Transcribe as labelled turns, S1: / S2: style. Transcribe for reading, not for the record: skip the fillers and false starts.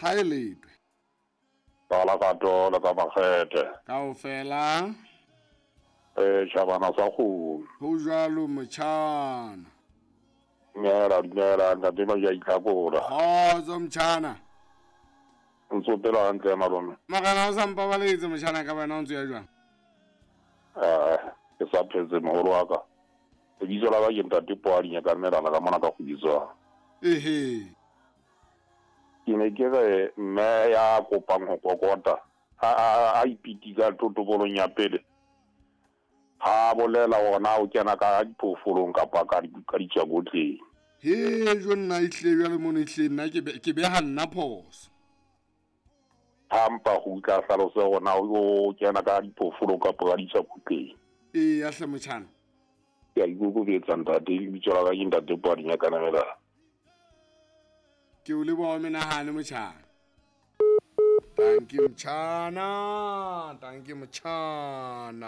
S1: Ha e letwe.
S2: Ka la ka tole ka makgethe.
S1: Kaofela.
S2: Eh tjhabana sa kgomo.
S1: Ho jwalo motjhana.
S2: Dumela dumela ntate ba ya itlhakola.
S1: Kgotso motjhana.
S2: Ntso pela hantle malome.
S1: Morena o sa mpabaletse motjhana ka wena o ntse ya jwang?
S2: Eh ke sa phetse moholo wa ka. Lebitso la ka ke ntate Poadinya ka melana ka mona ka kgubitswang.
S1: Ehe.
S2: Ke ne ke re mme ya kopang ho kokota a ipitika totobolong ya pele ha bolela hore na o kena ka diphoofolong kapa ka ditswakotleng.
S1: He jo nna ehlile jwale mono ehlile nna ke beha nna phoso.
S2: Ha mpa go utla hlalose hore na o kena ka diphoofolong kapa ka ditswakotleng.
S1: Eya hle motjhana.
S2: Ke a ikokobetsa ntate, lebitso la ka ke ntate Poadinya Kanamela.
S1: Ke o leboha o menahane motjhana. Tanki motjhana, tanki motjhana.